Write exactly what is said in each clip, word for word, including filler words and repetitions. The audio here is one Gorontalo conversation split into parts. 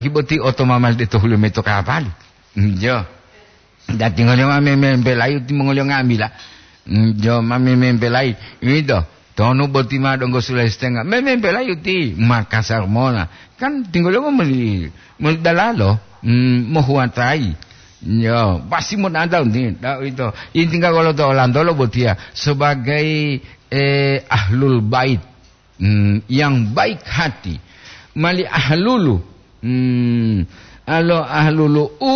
Ki boti oto mamali de to hulo mayi to kapali. Njo. Dati ngoliyo ma memempelayi timongoliyo nga'amila. Njo, ma memempelayi. Ito, tonu boti ma donggo sulayi setenga. Memempelayi ti Makassar mona. Kan tinggoliyo moli, moli dalalo. Hmm, mohuwatayi. Njo, pasti mo nata unti. Da ito. Inti ka golo to olantolo botiya. Sebagai, eh, ahlul bait. Hmm, yang baik hati. Mali ahlulu. Hmm, alo ahlulu u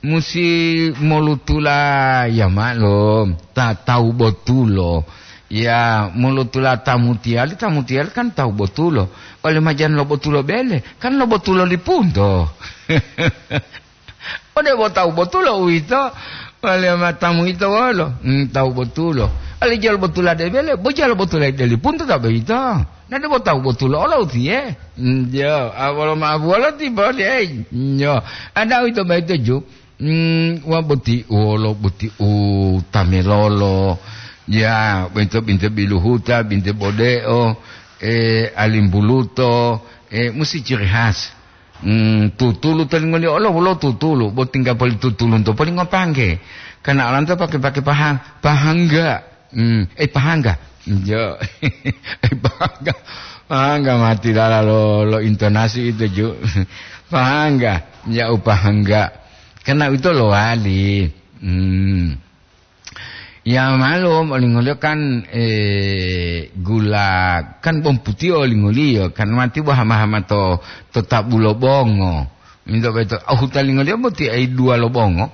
musi molutula ya maklum, ta tawu botulo. Ya, molutula tamutiyali, tamutiyali kan tawu botulo. Oleh majan lo botulo bele, kan lo botulo lipunto. Ode bo tawu botulo uwito, wale matamu ito wolo? Hmm, tawu botulo. Ali jalo botula de bele, bo jalo botula de lipunto ta boyito. Na de bo tawu botulo olo utiye. Hmm, jo, awolo mabuwolo ti boli, ei. Nyo, ada uwito boyito ju. Hmm, wa boti wolo, boti u tamelolo. Ya, boyito binte biluhuta, binte bodeo, eh, alimbuluto, eh, musi ciri khas. Hmm, tutulu to lingoliyo olo wolo tutulu, bo tingga poli tutulunto poli ngopangge. Karena olanto pake-pake paha-, pahangga. Hmm, eh, pahangga. Jo. Eh, pahangga. Pahangga mati lala lo, lo intonasi itu, ju. Pahangga. Ya, u pahangga. Karena itu lowali. Hmm. Ya, malum, olingoliyo kan, eh, gula, kan bawang putiyo olingoliyo, kan mati bo hama-hama to, to tabu lo bongo. Minto beto, oh, huta lingoliyo boti ai dua lo bongo.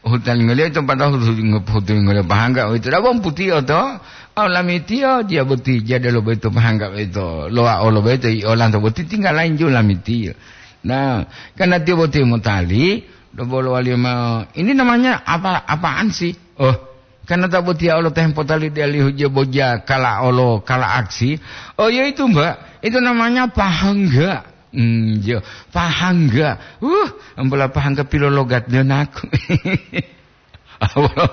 Oh, huta lingoliyo ito pada hutu, hutu lingoliyo pahangga, oh, ito da bawang putiyo to. Oh, lamitiyo, dia boti, jadelo beto pahangga beto. Loa olo beto, i olanto boti tinggal lain ju lamitiyo. Nah, karena tiyo boti motali, dobolo waliyo ma, ini namanya apa, apaan sih? Oh, karena ta botiya olo ta hempotali dialihu je boja kala olo kala aksi. Oh, ya itu, Mbak. Itu namanya pahangga. Hmm, ya, pahangga. Uh, ambola pahangga pilologat dia naku. Bolo,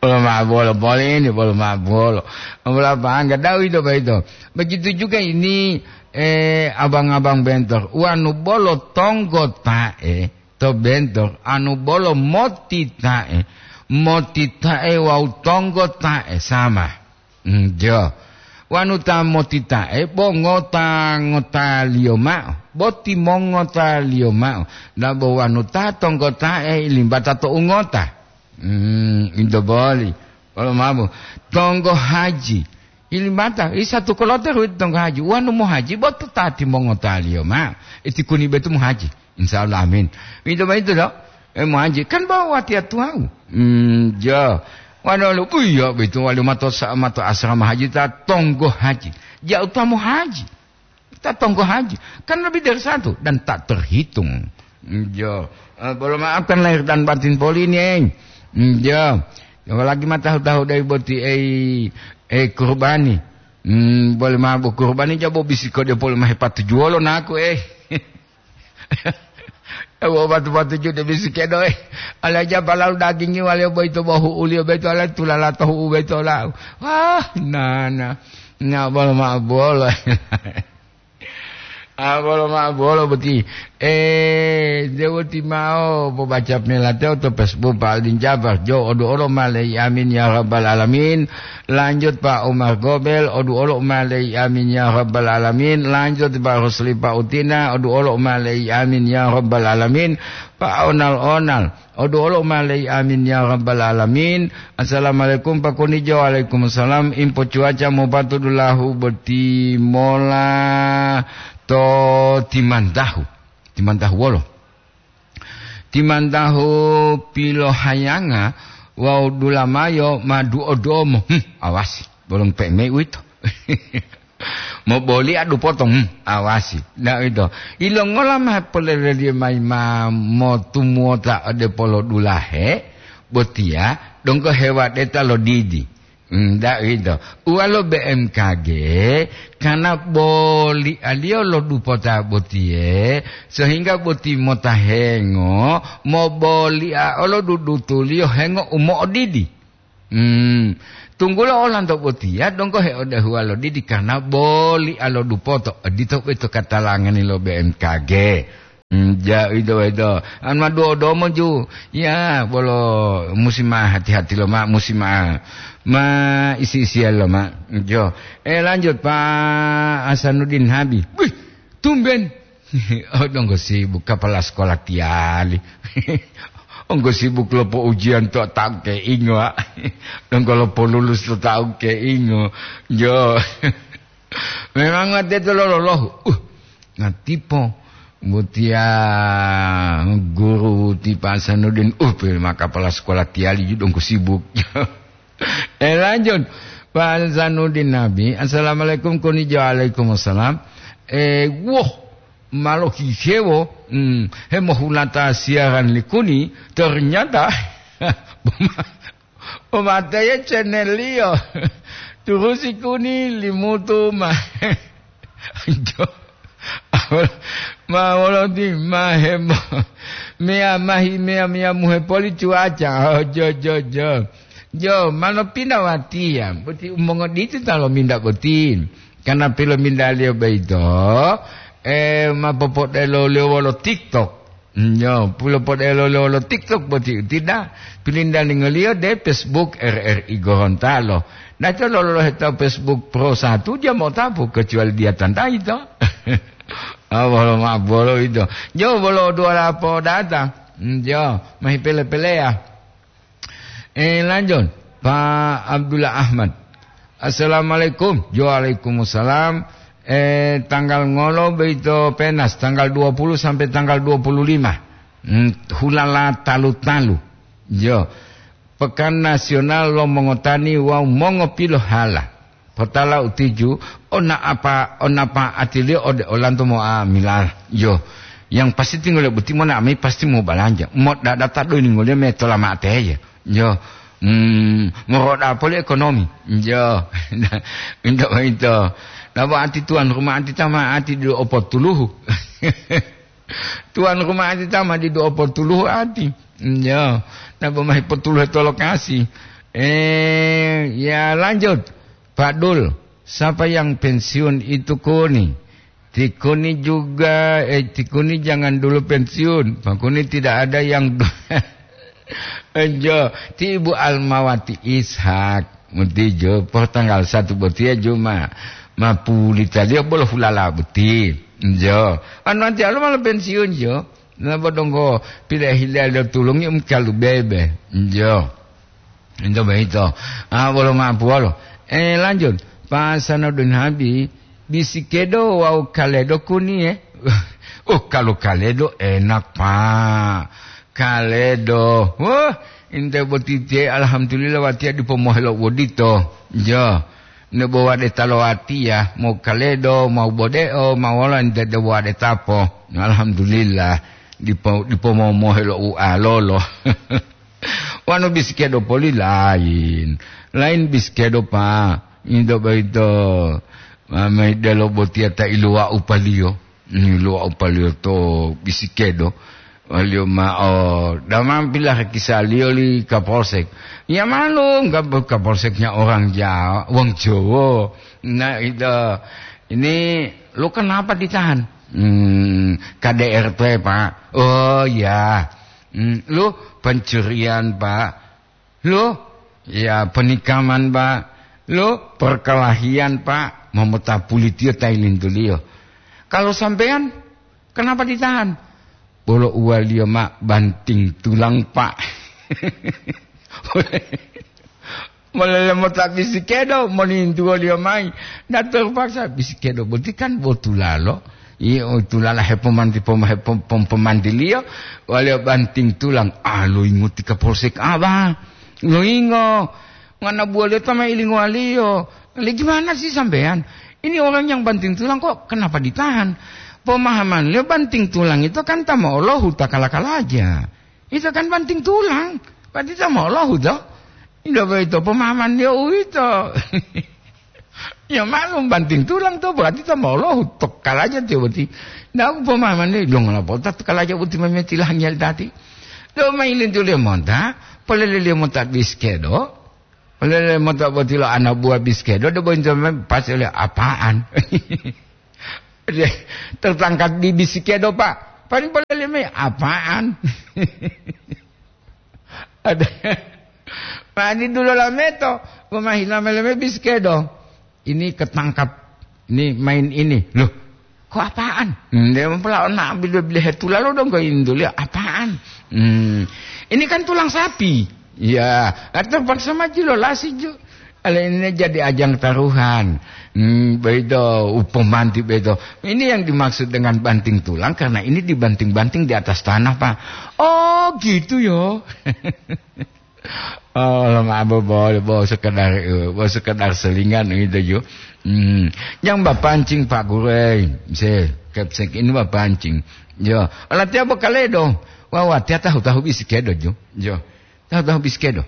bolo ma bolo, bolo ini, bolo ma bolo. Ambola pahangga, dawi do baito. Begitu juga ini, eh, abang-abang bentor. Wanu bolo tonggo tae. To bento, anu bolo motita'e, motita'e wawu tonggota'e sama. Njo. Wanu ta motita'e bo ngota-ngotaliyo mao, bo timongotaliyo mao, dabo wanu ta tonggota'e limbata to ungota. Hmm, into boli. Wolo mabu. Tonggo haji. Ilimbata, i satu kolote ruwito tonggo haji. Wanu mohaji, bo to ta timongotaliyo mao. Iti kuni betu mohaji. Insya Allah, amin. Itu begitu, dok. Eh, mohaji. Kan bawa watiya tuwawu. Hmm, jo. Wanu lu, iya, begitu. Wali mato sa-, mato asrama haji, ta tonggo haji. Jauh ta mohaji. Ta tonggo haji. Kan lebih dari satu. Dan tak terhitung. Hmm, jo. Eh, bolo maafkan lahir dan batin poli ini, eh. Hmm, jo. Apalagi ma tahu-tahu dari boti, eh, eh, kurbani. Hmm, boli mabu kurbani jabo bisi ko dia poli ma hepatujuwolo naku, eh. Ewo batu-batu jude bisi kedo, eh. Ala japa lalu dagingi wale boyito bo hu'uliyo boyito ala tulala to hu'u boyito lau. Wah, nana. Na bolo ma bolo. Ah, bolo ma bolo boti. Eh, dewoti mao pobaca melate to Facebook Pak Aldin Jabar. Jo odu olo malei amin ya rabbal alamin. Lanjut Pak Umar Gobel, odu olo malei amin ya rabbal alamin. Lanjut Pak Rusli Pak Utina, odu olo malei amin ya rabbal alamin. Pak Onal-onal, odu olo malei amin ya rabbal alamin. Assalamualaikum Pak Kunijo. Waalaikumsalam. Info cuaca mopatudulahu boti mola to Timantahu. Timantahu wolo. Timantahu pilohayanga wawu dulamayo ma duo-duomo. Hmm, awasi, bolong peme uwito. Moboli adu potong, hmm, awasi. Nah, ito. Ilongola ma poleleliyo mayi ma motumuwota ode polodulahe, botiya donggo hewadeta lo didi. Hmm, ndak gitu. Uwalo B M K G, karena bolialiyo lo dupota botiye, sehingga boti mota hengo, mobolia olo dudutuliyo hengo u mo'odidi. Hmm, tunggulo olanto botiya donggo heodahuwa lo didi karena bolia lo dupoto, odito boyito katalangani lo B M K G. Hmm, ja, ito, ito. An ma duo domo ju. Ya, bolo musi ma hati-hati lo ma, musi ma, ma isi-isian lo ma. Jo. Eh, lanjut, Pak Hasanuddin Habi. Wih, tumben. Oh, donggo sibuk, kepala sekolah tiali. Onggo sibuk lopo ujian to taun keingo, ah. Donggo lopo lulus to taun keingo. Jo. Memang teto lolohu. Uh, ngatipo. Butia guru ti Pak Hasanuddin. Uh, pe ma kepala sekolah tiali ju donggo sibuk. Eh, lanjut. Pak Hasanuddin Nabi. Assalamualaikum, koni jo. Waalaikumsalam. Eh, woh, malo hihewo, hmm, hemohulata siaran likuni, ternyata Umateye channel-liyo. Turusi kuni limutu ma. Jo. Ma woloti ma hemo. Meya mahi meya meya muhe poli cuaca. Oh, jo, jo, jo. Jo, mano pinda watiya. Boti umongoditi ta lominda boti. Karena pilomindaliyo boyito, eh, ma popodelo-liyo wolo TikTok. Nyo, pulo podelo lo, lo TikTok boti utida, pilindalingoliyo de Facebook R R I Gorontalo. Naco lolohe to Facebook Pro satu dia motapu kecuali dia tantai to. Ah, bolo ma bolo itu. Jo bolo dua lapo data. Hmm, jo, mahi pele-pelea. Eh, lanjut, Pak Abdullah Ahmad. Assalamualaikum. Waalaikumsalam. Eh, tanggal ngolo boyito penas, tanggal dua puluh sampai tanggal dua puluh lima. Hmm, hulala talu-talu. Yo, Pekan Nasional lo Mongotani wawu Mongopilohala. Potala utiju, ona apa, onapa atiliyo ode olanto mo'amila. Yo, yang pasti tinggal boti mona ami pasti mau balanja. Mo dadata do ini ngoliyo me tola mate ya. Yo, mm, moroda poli ekonomi. Yo, into itu. Nabo ati tuan rumah ati tama ati do opotuluhu. Tuan rumah ati tama di do opotuluhu ati. Yo, nabo mahi potuluhu to lokasi. Eh, ya lanjut. Pak Dul, siapa yang pensiun itu kuni? Tikuni juga, eh, tikuni jangan dulu pensiun. Pakuni tidak ada yang Enjo, ti Ibu Almawati Ishak, mutijo, po tanggal satu botiya juma, ma pulitaliyo bolo hulala boti. Enjo, anu anti alo malo pensiun jo, nabo donggo pile hile tulungi um kalu bebe. Enjo. Ento boyito. Ah, bolo mapu wolo. Eh, lanjut. Pak Sanodun Habi, bisi kedo wawu kaledo kuniye. Oh, kalau kaledo enak, Pak. Kaledo. Wah, inte botitiye, alhamdulillah, watiya dipo mohelo wodito. Jo. Ne bo wade talo watiya, mau kaledo, mau bodeo, mau wolo, inte de wade tapo. Alhamdulillah. Dipo, dipo momohelo u alolo. Wanu bisikedo poli lain. Lain bisikedo, Pak. Into boyito, ma-, mayi delo botiya ta iluwa'u paliyo. Iluwa'u paliyo to bisikedo. Waliyo ma'o, damam pilahe kisaliyo li Kapolsek. Ya malum, Kap-, Kapolseknya orang Jawa, wong Jowo. Nah, itu, ini lu kenapa ditahan? Hmm, K D R T, Pak. Oh, ya. Hmm, lu pencurian, Pak. Lu, ya, penikaman, Pak. Lu, perkelahian, Pak. Momota pulitiyo tailintuliyo. Kalau sampean, kenapa ditahan? Bolo uwaliyo ma banting tulang, Pak. Molele mota bisikedo, monintuwoliyo mayi. Dato paksa bisikedo boti kan bo tulalo. Iyo, tulala hepomanti-, pom-, hepom-, pom-, pomantiliyo, waliyo banting tulang. Ah, loyingo ti Kapolsek Aba. Loyingo. Ngana buwaliyo ta ma ilingowaliyo. Le, gimana sih sampean? Ini orang yang banting tulang kok kenapa ditahan? Pemahamanliyo banting tulang itu kan ta mo'olahu ta kala-kalaja. Ito kan banting tulang, berarti ito mo'olahu to. Ito boyito pemahamanliyo uwito. Ya maklum banting tulang to, berarti ito mo'olahu to kalaja tiyo boti. Ndak pemahamanliyo, donggo lapota to kalaja boti mametilahan yali tati. Do mayi lintuliyo monta, poleleliyo monta bisikedo. Poleleliyo monta boti lo ana buah bisikedo, do boyito mem-, pas ole apaan. Tertangkap di bisikedo, Pak. Paling boleh leme apaan? Ada. Mani dulu lameto, pemahina meleme biskedo. Ini ketangkap, ini main ini. Loh, kok apaan? Hmm, dia mempelak nak beli-beli hetula lo dong ke Indonesia. Apaan? Hmm, ini kan tulang sapi. Ya, terpaksa maju lo lasi ju. Ale ini jadi ajang taruhan. Hmm, begitu, upomanti begitu. Ini yang dimaksud dengan banting tulang, karena ini dibanting-banting di atas tanah, Pak. Oh, gitu yo. Oh, lo mabo boleh, bo sekedar, eh, bo sekedar selingan gitu ju. Hmm, yang bapancing Pak Gurei, se kepsek ini bapancing. Yo, ala tiap kaledo. Wah, wah, tiap tahu-tahu biskedo ju. Yo, tahu-tahu biskedo.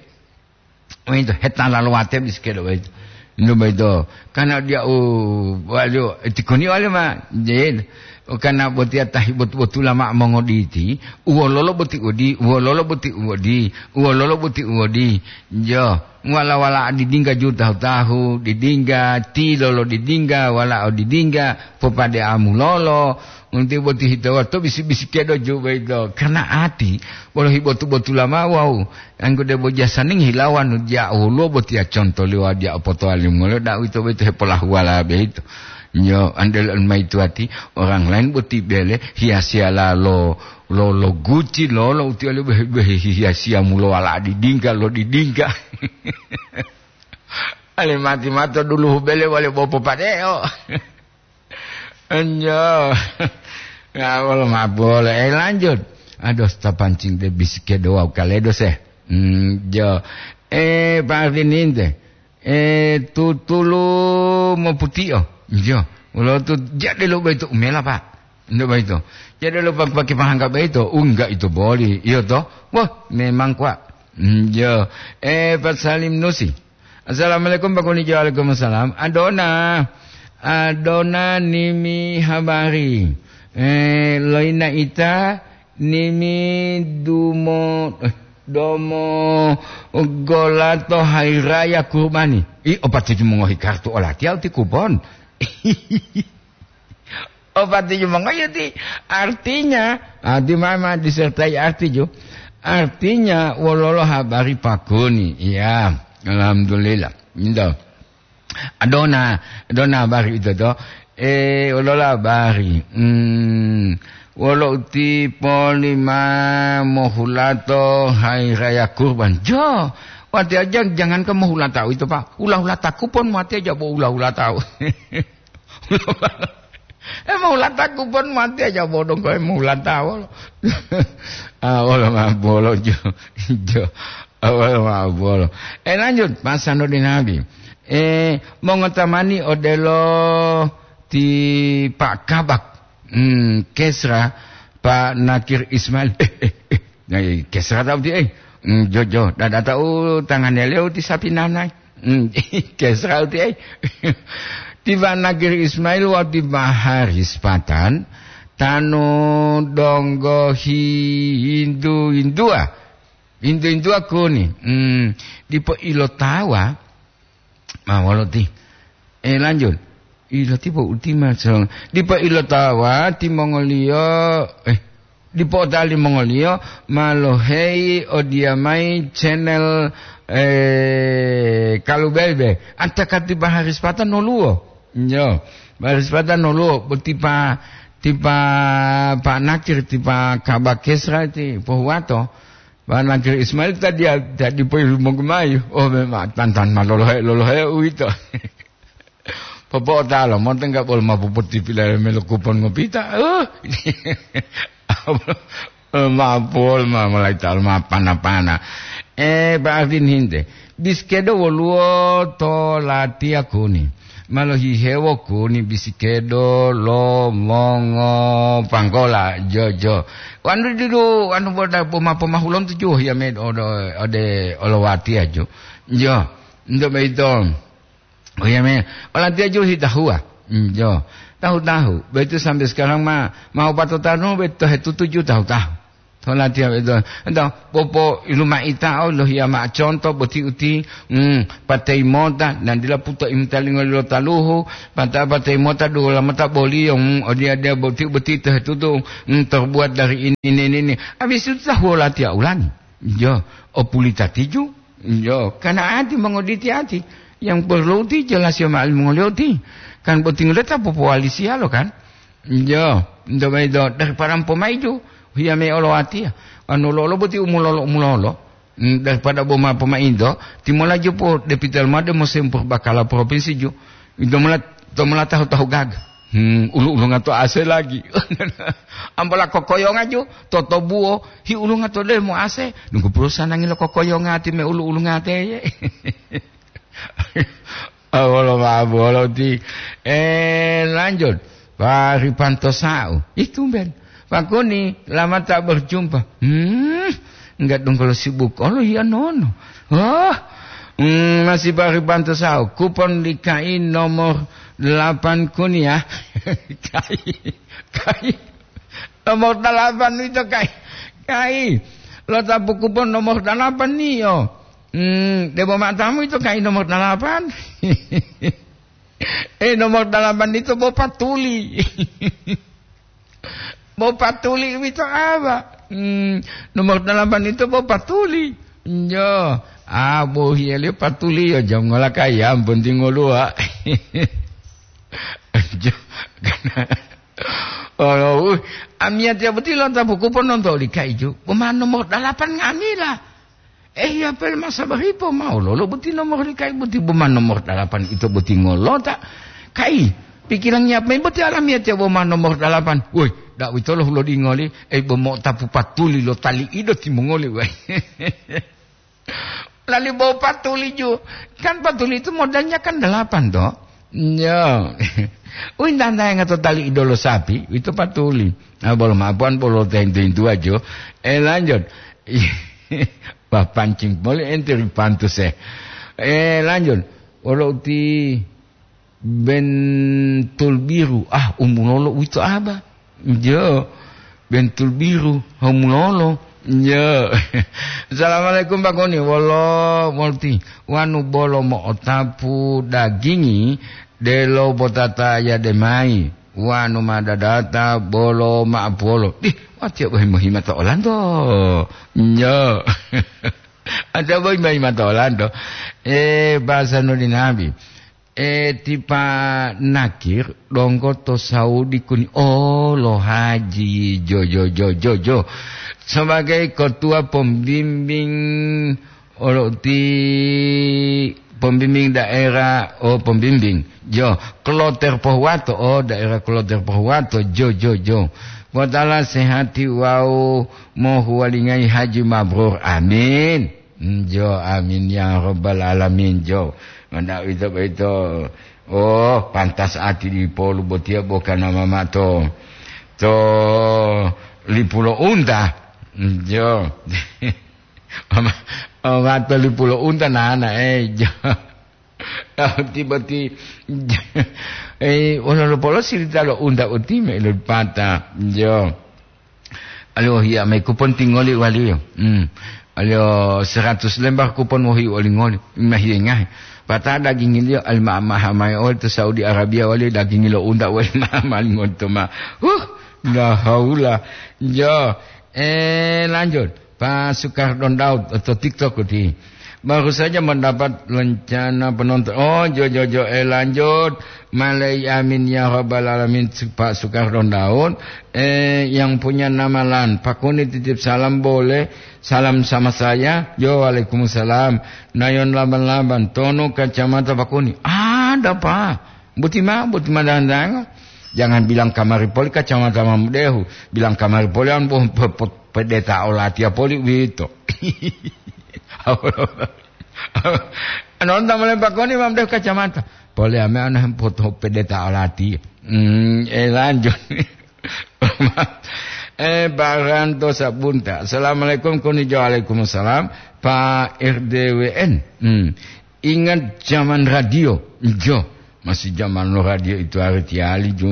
Wento hetala lo wate biskedo wento. Ndo baito. Kana dia u wali tikoni wali ma. Jin. Kana botia tahi bot-, botula ma mongoditi. Uwololo boti udi, uwololo boti udi, uwololo boti udi. Jo. Wala-wala didingga ju tahu-tahu, didingga, tilolo didingga, wala o didingga, popade amulolo. Unti boti hito wato bisi-bisi kedo ju baito. Karena ati, bolo hibotu-botula ma wau. Anggo debo jasaning hilawan dia woluwo botiya conto liwa dia opotowali molo da uwito boyito hepolahuwala boyito. Nyo, andel on mayi tuwati, orang lain boti bele hiyasiyala lo, lo, lo guci lo, lo utiya lo behe, behe hiyasiya mulo wala didingga lo didingga. Ale mati mato dulu bele wale bopo padeo. Enjo. Ya, wolo mabolo. Eh, lanjut. Aduh, ta pancing de bisike doa kaledo se. Hmm, jo. Eh, Pak Ardininte. Eh, tutulu moputio. Jo. Wolo tu jade lo baito umela, Pak. Ndo baito. Jade lo pak-, pakai pahangga baito. Enggak itu boli. Iyo to. Wah, memang kuat. Hmm, jo. Eh, Pak Salim Nusi. Assalamualaikum, Pak Kunijo. Waalaikumsalam. Adona, Adona nimi habari. Eh, loina ita nimi dumo, eh, domo golato hairaya kurbani. I, opati mongohi kartu olatiya uti kupon. Opati mongohi uti. Artinya, arti mama disertai arti ju. Artinya, wololo habari Pak Kuni. Iya, alhamdulillah. Indo. Adona, adona habari ito to. Eh, wolola habari. Hmm, wolo uti polima mohulato hari raya kurban. Jo, wati aja jangankan mohulata ito, Pak. Hula-hulataku pon mati aja bo hula-hulata. Eh, mohulataku pon mati aja bodong koe mohulata wolo. Ah, wolo ma bolo jo. Jo. Ah, wolo ma bolo. Eh, lanjut, pasando di Nabi. Eh, mongotamani odelo ti Pak Kabak. Hmm, Kesra, Pak Nakir Ismail. Eh, eh, eh. Nah, Kesra tahu ti, eh. Hmm, jo, jo. Dada tahu tangannya leo ti sapi nanai. Hmm, Kesra uti ai. Tiba Nagiri Ismail wawu tiba Haris Patan, tanu donggo hi-, hindu-hindua. Hindu-hindua kuni. Hmm, dipo ilotawa. Ma wolo ti. Eh, lanjut. Ilo tipo ultima so. Dipo ilotawa timongoliyo, eh, dipo otali mongoliyo ma loheyi odiyamayi channel, eh, Kalubebe. Antakati Baharis Patan noluwo. Yo, Baharis Patan noluwo. Bo tipa, tipa Pak Nakir, tipa Kabakesra ti pohuwato. Pak Nakir Ismail tadi, tadi poyi monggumayi. Oh, memang tantan ma lolohe, lolohe uwito. Popo'otalo, monto enggak bolo ma popotipilale melo kupon ngopita. Uh. Ma pol ma mulai tal ma pana-pana. Eh, Pak Ardin hinte. Biskedo woluwo to latiya kuni. Malo hihewo kuni bisikedo lo mongo panggola jojo. Wanu didu, wanu boda poma-, pomahulon tujuh ya med ode, ode olowatiya jo. Jo, ndo beito. Oh iya, me. Olatiya julu hitahuwa. Hmm, jo. Tahu-tahu. Begitu sampai sekarang ma, mau patotanu, begitu hetutuju tahu-tahu. Tolatiya ito, ito, popo ilumaitao lohiya mao conto boti uti, mm, patei mota, nandila puto imtalingo lo taluhu, pata patei mota dua mota boliyo, mm, odiya-diya boti, boti tehetutu, mm, terbuat dari ini, ini, ini. Habis itu tahu latiya ulangi. Yo, opulita tiju. Yo, kana ati mongoditi ati. Yang perlu ti jelas yo ma'al mongoliyo ti. Kan boti ngoleta popowali siyalo kan. Yo, nto mayi do, daripada pomaiju, hiya me olo atiya. Anu lolo boti umulolo, umulolo. Mm, daripada boma pomaido, timola jupo depital made musim purbakala provinsi ju. Ito mula, to mula tahu-tahu gaga. Hmm, ulu-ulunga to ase lagi. Ambola kokoyonga ju, to tobuo, hi ulunga to demo ase. Nunggu perusahaan nangilo kokoyonga ti me ulu-ulunga teye. Awolo ma'o bolo ti. Eh, lanjut. Pak Ripanto Sa'u. Ih, tumben. Pak Kuni, lama tak berjumpa. Hmm, enggak dong kalau sibuk. Kalau iya nono. Oh, hmm, masih Pak Ripanto Sa'u. Kupon di K I nomor delapan Kuni ya. K I, K I. Nomor dalapan itu K I. K I. Lo tapu kupon nomor dalapan nih yo. Hmm, debo matamu itu K I nomor dalapan. Eh, nomor dalapan itu bo patuli. Bo patuli wito apa? Hmm, nomor dalapan itu bo patuli. Yo, ah, bo hiya liyo patuli yo, jam ngola kaya, ampun tingoluwa. Jo, karena, oh, uh, amiyatiya boti lonta buku pon nonto oli kaijo. Bo ma nomor dalapan ngamila. Eh, iya pel masa baripo mau lolo boti nomor li kai boti boma nomor dalapan ito boti ngolota. Kai, pikirangi apa boti alamiya tiya boma nomor dalapan. Woi, dak witolo hulodingoli, eh, bomo tapu patuli lo tali ido timongoli, woi. Lali bo patuli ju. Kan patuli itu modalnya kan dalapan, toh? Ya. Wih, tantayanga to tali idolo sapi, itu patuli. Ah, bolo mapuan, bolo tento-tento aja. Eh, lanjut. Wah, pancing boleh ente ripantus, eh. Eh, lanjut. Wolo uti bentul biru. Ah, umulolo uwito aba. Jo, bentul biru. Umulolo. Jo. Assalamualaikum, Pak Goni. Wolo, molti. Wanu bolo mo'otapu dagingi, delo botata yade mayi. Wanu ma dadata bolo ma'apuwolo. Dih, watiya bohi mohima to olanto. Nyo. Ada bohi mohima to olanto. Eh, bahasa nuli nabi. Eh, tipa nakir donggo to Saudi kuni. Oh, lo haji. Jo, jo, jo, jo, jo. Sebagai ketua pembimbing Olo ti pembimbing daerah, oh, pembimbing. Jo, kloter Pohuwato, oh, daerah kloter Pohuwato, jo, jo, jo. Potala sehati wawu mohuwalingayi haji mabrur. Amin. Mm, jo, amin ya rabbal alamin, jo. Manda uwito boyito, oh, pantas ati dipolu botiya bokana mamato. To lipulo unta. Mm, jo. Ama, ama tolipulo unta nana, eh, jo. Tiba ti, eh, wolo lopolo sirita lo unta uti me lo pata, jo. Aliyo hiya me kupon tingoli waliyo. Hmm. Aliyo seratus lembar kupon wohi olingoli. Mahiye ngahe. Pata dagingiliyo alima maha mayi oli to Saudi Arabia wali dagingi lo unta wali maha malingonto ma. Huh, la haula. Jo. Eh, lanjut. Pak Sukardon Daud atau TikTok uti. Baru saja mendapat rencana penonton. Oh, jo, jo, jo, eh, lanjut. Malai amin ya rabbal alamin, Pak Sukardon Daud. Eh, yang punya nama Lan. Pak Kuni titip salam boleh. Salam sama saya. Yo, waalaikumsalam. Nayon laban-laban. Tono kacamata Pak Kuni. Ada, Pak. Buti ma, buti ma dandanga. Jangan bilang kamari poli kacamata mamudehu. Bilang kamari poli an boh pe-, pe-, pedeta olatiya poli uwito. Anonta mole Pak Kuni mamudehu kacamata. Poli ame ana poto pedeta olatiya. Hmm, eh, lanjut. Eh, Baranto Sabunta. Assalamualaikum, Kuni jo. Waalaikumsalam. Pak R D W N. Hmm. Ingat zaman radio. Jo. Masih zaman lo radio itu hari tiali ju.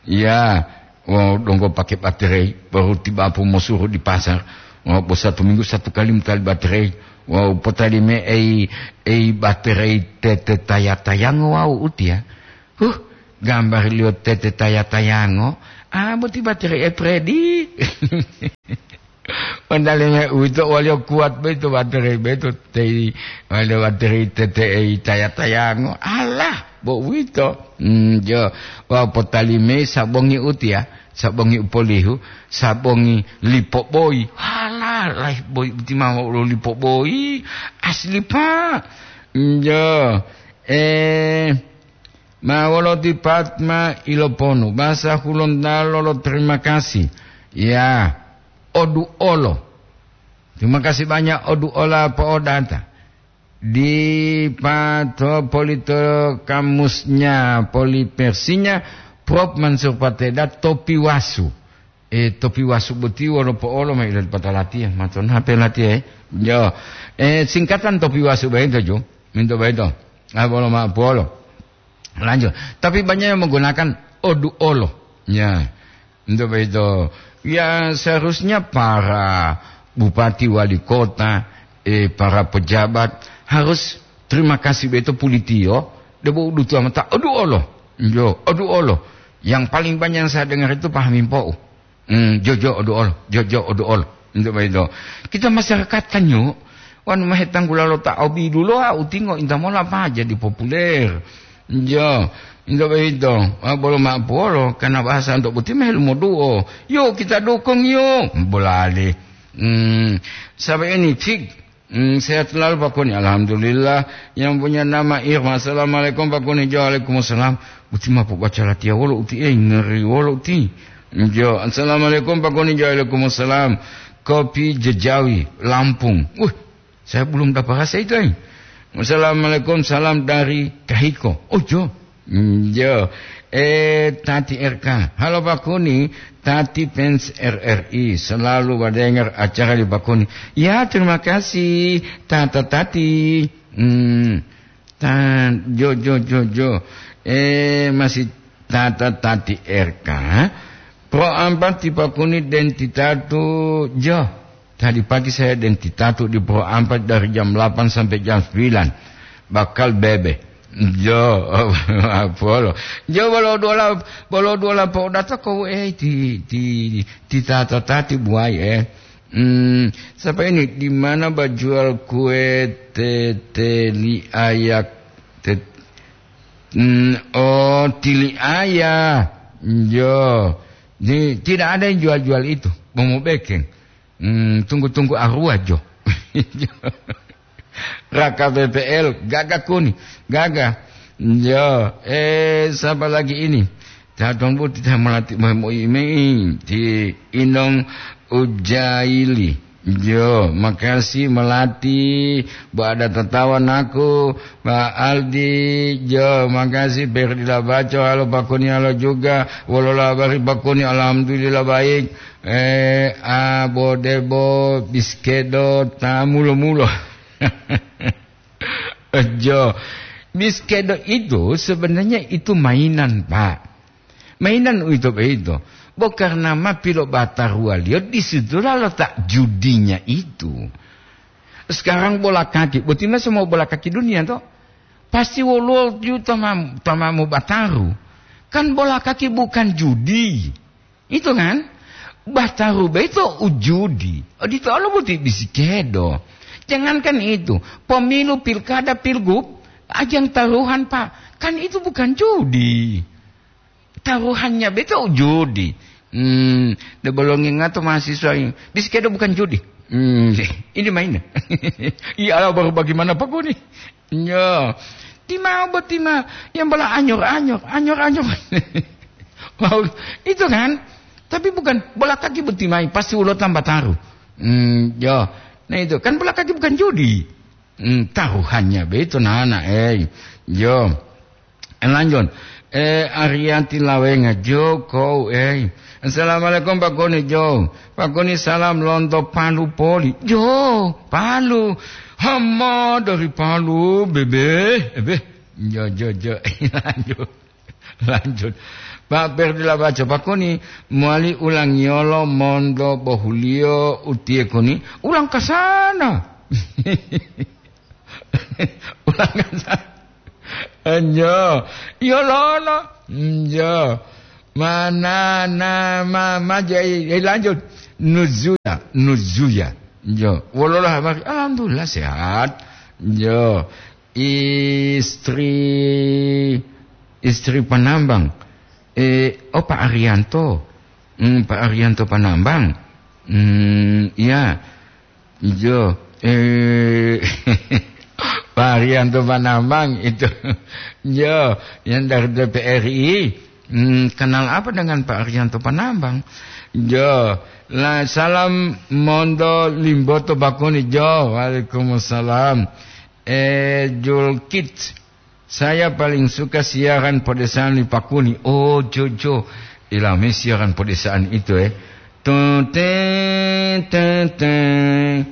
Ya, Wawu donggo pake baterei, baru tibapu mosuru di pasar. Wawu bo satu minggu satu kali motali baterei. Wawu potali me ei, ei baterei tete taya-tayango wawu utiya. Huh, gambariliyo tete taya-tayango. Ah, boti baterei e Fredi. Potali me uwito waliyo kuwat boyito baterei boyito tei, waliyo baterei tete ei taya-tayango. Alah, bo uwito. Hmm, jo. Wawu potali me sabongi utiya. Sabongi u polihu, sabongi lipo boyi. Halah, laih boyi uti ma wolo lipo boyi. Asli, Pak. Njo. Eh, ma wolo ti Fatma Iloponu. Bahasa Hulontalo lo terima kasih. Ya, oduolo. Terima kasih banyak oduola po'odata. Di pato polito kamusnya, polipersinya, Prof Mansur Pateda, topi wasu. Eh, topi wasu boti wolo po'olo ma ila dipata latiya, mato nape latiya, eh? Yo. Eh, singkatan topi wasu boyito, jo. Minto boyito. Ah, bolo ma polo. Lanjut. Tapi banyak yang menggunakan oduolo. Ya. Untuk itu, ya, seharusnya para bupati, wali kota, eh, para pejabat harus terima kasih beto pulitiyo, debo udutu amata, "Aduh Allah." Yo, "Aduh Allah." Yang paling banyak yang saya dengar itu Pak Hamim Pou. Hmm, jojo, "Aduh Allah, jojo, aduh Allah." Untuk itu. Kita masyarakat kan, yuk, wanu mahe tanggula lo ta obi dulo, ah, utingo inta mola pa jadi populer. Jo, inta boyito, ah, bolo ma polo, karena bahasa untuk boti mah lumoduo. Yuk, kita dukung, yuk. Bolale. Hmm, sampai ini, fik. Hmm, sehat selalu, Pak Koni. Alhamdulillah. Yang punya nama Irma. Assalamualaikum, Pak Koni. Jo, waalaikumsalam. Boti ma pobaca latiya wolo uti, eh, ngeri wolo uti. Jo, assalamualaikum, Pak Koni. Jo, waalaikumsalam. Kopi Jejawi, Lampung. Wih, saya belum dapat rasa itu, eh. Assalamualaikum, salam dari Kahiko. Oh, jo. Mm, jo. Eh, Tati R K. Halo, Pak Kuni, Tati fans R R I. Selalu badengar acara di Pak Kuni. Ya, terima kasih, Tata Tati. Hmm. Tan, jo, jo, jo, jo. Eh, masih Tata Tati R K. Pro ampat ti Pak Kuni dentitatu, jo. Tadi pagi saya dentitatu di Pro ampat dari jam delapan sampai jam sembilan. Bakal bebe. Jo, polo. Jo, bolo dola, bolo dola po data ko, eh, ti, ti, ti Tata Tati buai, eh. Hmm, siapa ini? Di mana ba jual kue teteli ayak? Tet-, hmm, oh, tili ayah. Jo. Di, tidak ada yang jual-jual itu. Mau bekeng. Hmm, tunggu-tunggu arwah, jo. Raka P P L, gaga kuni, gaga. Jo, eh, siapa lagi ini? Tatong bu tita melati mo-, mo-, mei, ti Inong Ujaili. Jo, makasih melati, bu ada tatawa naku, Pak Aldi, jo, makasih, Ferdi Labaco, halo Pak Kuni, halo juga, wolola habari Pak Kuni, alhamdulillah baik. Eh, a, bo, debo, biskedo, ta, mulo-mulo. Jo. Biskedo itu sebenarnya itu mainan, Pak. Mainan uwito boyito. Bo karena ma pilobataruwaliyo, di situla letak judinya itu. Sekarang bola kaki, boti ma semua bola kaki dunia, toh? Pasti woluwo ju tama-, tamamu bataru. Kan bola kaki bukan judi. Itu kan? Bataru boyito ujudi. Odito olo boti bisikedo. Jangankan itu, pemilu, pilkada, pilgub, ajang taruhan, Pak. Kan itu bukan judi. Taruhannya boyito ujudi. Hmm, de bolongi ngato mahasiswa ini. Bisikedo bukan judi. Hmm, ini main. Iya, baru bagaimana Pak Kuni? Yo, timao bo tima yang bola anyor-anyor, anyor-anyor. Wow, itu kan? Tapi bukan bola kaki bo timai, pasti ulo tambah taruh. Hmm, yo. Nah itu, kan bola kaki bukan judi. Hmm, taruhannya begitu, nana, eh. Yo. Eh, lanjut. Eh, Arianti Lawenga, Jo, kou, eh. Assalamualaikum, Pak Koni, Jo. Pak Koni, salam lonto Palu poli. Jo, Palu. Hama dari Palu, bebe. Ebe. Jo, jo, jo. Lanjut. Lanjut. Pak Perdi Labaco Pakuni mowali ulangiyolo monto bohuliyo utiye kuni, ulang kasana. Ulang kasana. Enjo. Yolono. Enjo. Mana nama maja, eh, lanjut. Nuzuya, Nuzuya. Enjo. Wololah, alhamdulillah sehat. Enjo. Istri, istri Panambang. Eh, oh, Pak Arianto. Hmm, Pak Arianto Panambang. Hmm, iya. Ijo. Eh, Pak Arianto Panambang itu. Yo, yang dari D P R I. Hmm, kenal apa dengan Pak Arianto Panambang? Yo, la, salam mondo Limboto Pakuni. Jo, waalaikumsalam. Eh, Julkit. Saya paling suka siaran podesaan li Pakuni. Oh, jo, jo. Ilami siaran podesaan itu, eh. Tun, ten, ten, ten.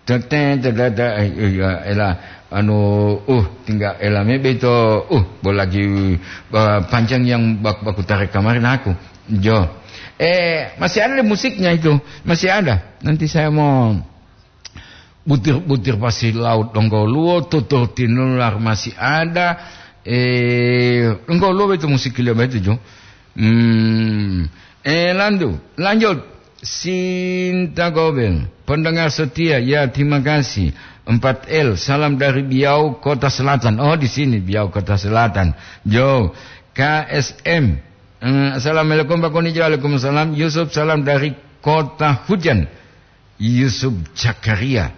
Tun, ten, ten, ten, ten. Eh, iya, ela, anu, uh, tinggal elame beto, uh, bolagi, uh, panjang yang bak-, baku tarik kemarin aku. Jo. Eh, masih ada musiknya itu. Masih ada. Nanti saya mau butir-butir pasir laut donggo luo, tutur tinular masih ada. Eh, donggo luo itu musik beliau itu, jo. Hmm. Eh, landu-, lanjut. Sinta Gobel, pendengar setia, ya, terima kasih. Empat L, salam dari Biau, Kota Selatan. Oh, di sini, Biau, Kota Selatan. Jo, K S M. Eh, assalamualaikum, Pak Koni. Waalaikumsalam. Yusuf, salam dari Kota Hujan. Yusuf Zakaria,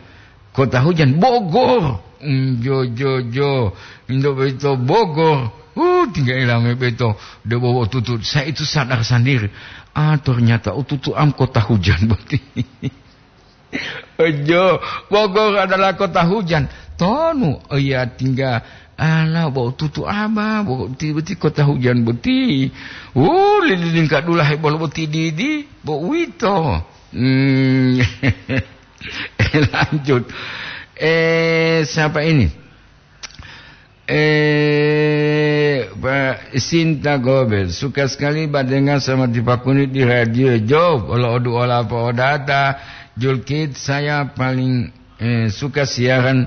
Kota Hujan, Bogor. Mm, jo, jo, jo. Indo boyito Bogor. Uh, tinggal ilame boyito. Debo bo tutu. Saya itu sadar sendiri. Ah, ternyata ututu am Kota Hujan boti. Ojo, Bogor adalah kota hujan. Tonu, oh iya, tinggal ala bo tutu aba, bo ti, boti kota hujan boti. Uh, lilin kadula hebol boti didi, bo uwito. Hmm. Lanjut. Eh, siapa ini? Eh, Pak Sinta Gobel, suka sekali Pak dengar sama Tipakuni di radio. Jo, olo odu ola po odata, Julkit, saya paling, eh, suka siaran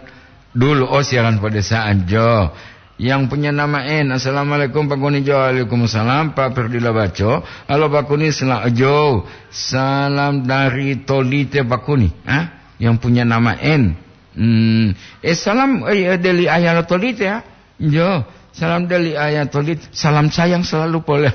dulu, oh, siaran pedesaan, Jo. Yang punya nama N, "Assalamualaikum, Pak Kuni." Jo, "Waalaikumsalam, Pak Ferdila Baco." "Halo, Pak Kuni, sela-, Jo, salam dari Tolite, Pak Kuni." Hah? Yang punya nama N. Hmm, eh, salam, eh, deli ayah lo Tolite, ya. Jo, salam deli ayah Tolite. Salam sayang selalu pole.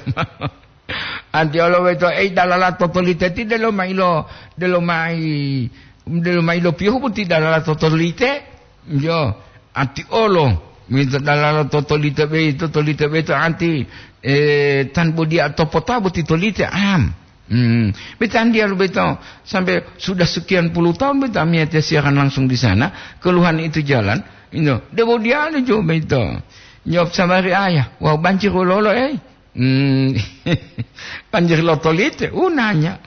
Anti olo weto, eh, dalala to Tolite ti delo mailo, delo mai, delo mailo piyohu boti dalala to Tolite. Jo, anti olo, mito dalala to Tolite be, to Tolite be to anti, eh, tan bodia to pota boti Tolite, am. Hmm, betandiya lo beto, sampai sudah sekian puluh tahun beto amiyatiya siaran langsung di sana, keluhan itu jalan, ino, debo diyalu jo beto. Nyop sabari ayah, wau banjir wololo, eh. Hmm, banjir lo Tolite, unanya.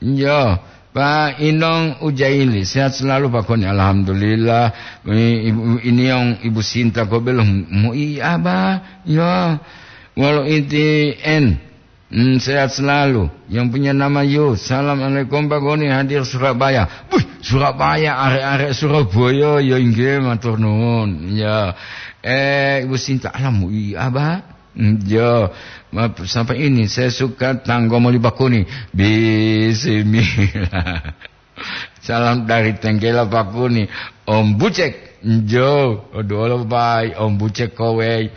Yo, Pak Inong Ujaili, sehat selalu, Pak Koni. Alhamdulillah. I-, Ibu, ini yang Ibu Sinta Gobel, mu-, mu-, iya, Abah. Yo, walau inti en. Hmm, sehat selalu. Yang punya nama Yu, "Assalamualaikum, Pak Goni, hadir Surabaya." Wih, Surabaya, arek-arek Surabaya, ya inggih, matur nuwun. Ya. Eh, Ibu Sinta, alamu, iya, Pak. Hmm, ya. Ma-, sampai ini, saya suka tanggo moli Pak Koni. Bismillah. Salam dari Tenggela, Pak Kuni. Om Bucek, njo, oduwolo bai, Om Bucek kowei.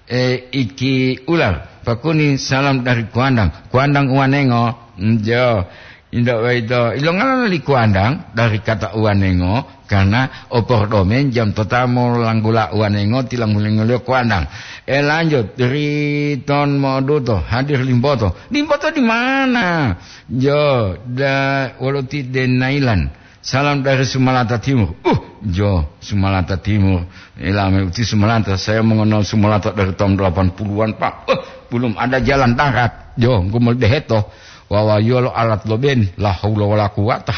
Eh, Iki Ular, Pak Kuni, salam dari Kuandang. Kuandang Uwanengo, njo. Indak waito, ilongala li Kuandang dari kata Uwanengo, karena opordomen jam totamo langgula Uwanengo tilanggulengo Kuandang. Eh, lanjut, Riton Moduto, hadir Limboto. Limboto di mana? Jo, da, wolo ti Denailan. Salam dari Sumalata Timur. Uh, jo, Sumalata Timur. Ilame uti Sumalata. Saya mengenal Sumalata dari tahun delapan puluhan, Pak. Uh, belum ada jalan darat. Jo, gumul deheto. Wawa yolo alat lo ben. La haula wala quwata.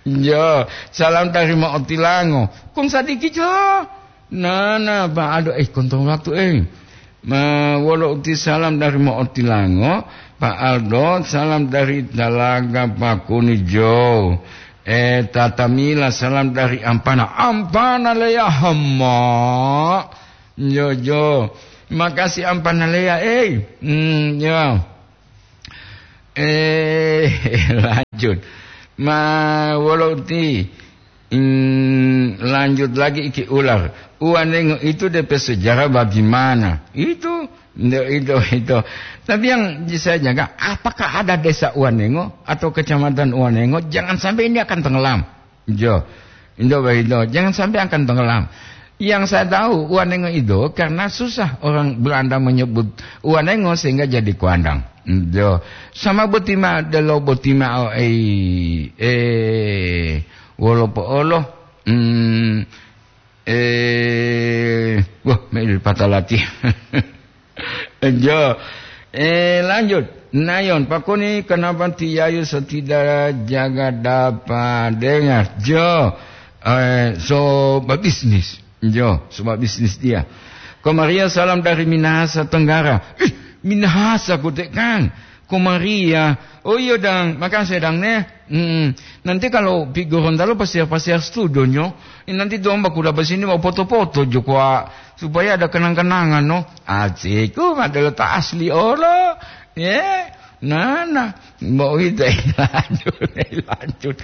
Jo, salam dari Maotilango. Kung sadiki, jo. Nana, Pak, aduh, eh, kontong waktu, eh. Ma, wolo uti salam dari Mo'otilango, Pak Aldo, salam dari Talaga Pakuni Jo. Eh, Tata Mila, salam dari Ampana. Ampana Leya, hama. Jo, jo. Makasih Ampana Leya, eh. Hmm, ya. Eh, lanjut. Ma, wolo uti, hmm, lanjut lagi iki ular. Uwanengo itu depe sejarah bagaimana? Itu, itu, itu, itu. Tapi yang saya jaga, apakah ada desa Uwanengo atau kecamatan Uwanengo? Jangan sampai ini akan tenggelam. Jo, indo boyito, jangan sampai akan tenggelam. Yang saya tahu, Uwanengo itu karena susah orang Belanda menyebut Uwanengo sehingga jadi Kuandang. Jo, sama boti ma, delo boti ma, oh, eh, eh, wolo po'olo, hmm, eh, wah, me patalati. Jo. Eh, lanjut. Nayon, Pakuni, kenapa Ti Yayu so tidak jaga dapat dengar? Jo. Eh, so babisnis. Jo, so babisnis dia. Ko Maria, salam dari Minahasa Tenggara. Ih, Minahasa kote kan. Ko Maria. Oh iya, Dang. Makasih, Dang, ne. Hmm, nanti kalau pi Gorontalo pasiar-pasiar studionyo, eh, nanti domba kuda basini mau foto-foto jo kwa, supaya ada kenang-kenangan, no. Aciku madelo ta asli olo. Ye, nana, mau itu lanjut, lanjut.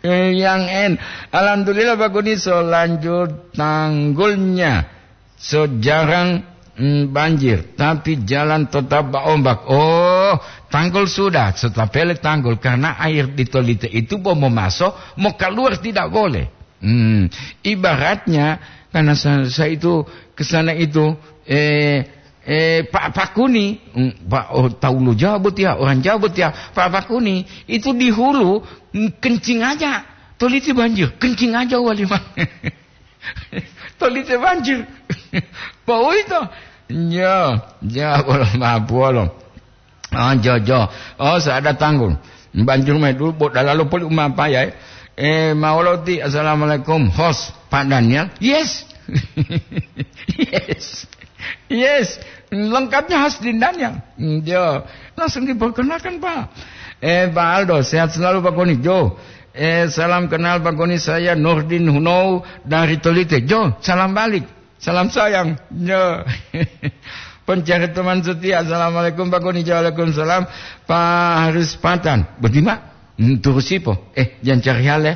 Eh, yang en, alhamdulillah Pak Kuniso lanjut tanggulnya. So jarang, mm, banjir, tapi jalan tetap baombak. Oh, tanggul sudah, setapele tanggul, karena air di Tolite itu mau memaso, mau keluar tidak boleh. Hmm, ibaratnya, karena sa-, saya itu ke sana itu, eh, eh, Pak Pakuni, mm, Pak, oh, tahu lo Jawa betul ya, orang Jawa betul ya. Pak Pakuni itu di hulu, mm, kencing aja. Tolite banjir, kencing aja wali, Pak. Tolite banjir. Pak, oh, itu. Ya, ya, bolo, maaf, bolo. Oh, jo, jo. Oh, saya ada tanggul. Banjir main dulu, buat dalalo poli umapa ya. Eh, Mauloti, assalamualaikum. Host, Pak Daniel. Yes. Yes. Yes. Lengkapnya khas di Daniel. Hmm, jo. Langsung diperkenalkan, Pak. Eh, Pak Aldo, sehat selalu, Pak Koni. Jo. Eh, salam kenal, Pak Koni. Saya Nurdin Hunou dari Tolite. Jo, salam balik. Salam sayang. Yo. Pencari teman setia. Assalamualaikum, Pak Koni. Waalaikumsalam. Pak Haris Patan. Bagaimana? Hmm, terus sipo? Eh, jangan cari hal, ya.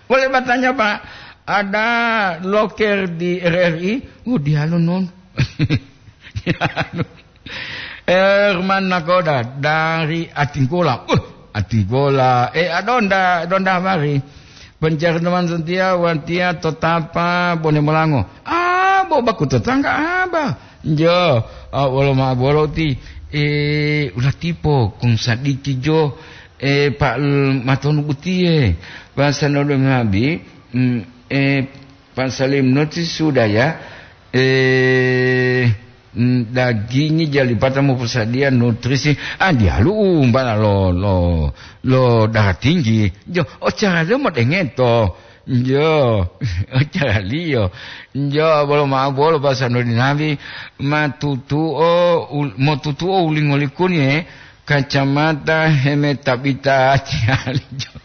Boleh bertanya, Pak. Ada loker di R R I? Oh, dialo, non. Dialo. Herman Nakoda dari Atinggola. Uh, Atinggola. Eh, adonda, adonda mari. Pencari teman setia, watia, totapa, bone molango. Ah, bo baku tetangga, aba. Jo, ah, wolo ma bolo ti, eh, ulah tipo, kung sadiki jo, eh, Pak L-, Matonu Butie. Bahasa nodo ngabi, mm, eh, Pak Salim noti sudah ya. Eh, mm, dagingi jalipata moposadiya nutrisi. Ah, dialu umbala lo, lo, lo darah tinggi. Jo, ocara lo modengeto. Jo, ocara liyo. Jo, bolo ma'o bolo bahasa nodi nabi. Matutuo, ul-, motutuo ulingo likuni, eh. Kacamata heme tabita tiali. Jo.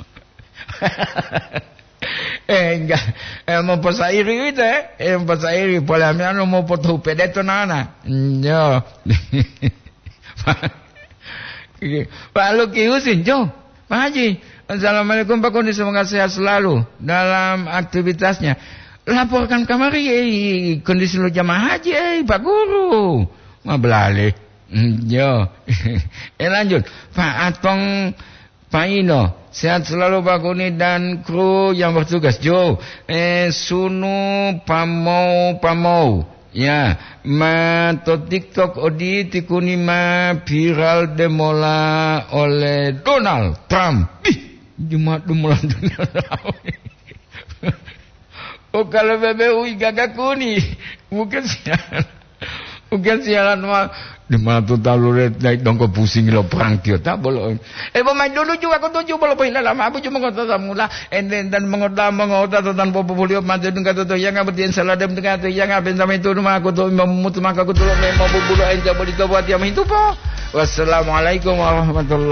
Eh, enggak. Eh, moposairi uwito, eh. Eh, moposairi. Pole ami anu mopotohu pedeto nana. Nyo. Pak Luki Husin, Jo. Pak Haji, assalamualaikum, Pak Koni, semoga sehat selalu dalam aktivitasnya. Laporkan kamari, eh, kondisi lo jamaah haji, eh, Pak Guru. Ma belale. Mm, jo. Eh, lanjut. Pak Atong Paino, sehat selalu Pak Kuni dan kru yang bertugas. Jo, eh, sunu pamou pamou. Ya, ma to TikTok odi ti Kuni ma viral demola oleh Donald Trump. Ih, cuma demola Donald Trump. Oh, kalau bebe ui gaga Kuni. Bukan sialan. Bukan sialan, ma. Di mana tuta lure naik dongko pusing lo perang tiyo ta bolo. E bo mai dulu juga ko tuju bolo pohila lama abu cuma kota samula. Enden dan mengota mengota tan popo bolio mate dungka toto yang abdi yang salah dem dungka to yang aben samai tu rumah ko to mamutu maka ko to memo bubulo ente boli to buat yang itu po. Wassalamualaikum warahmatullahi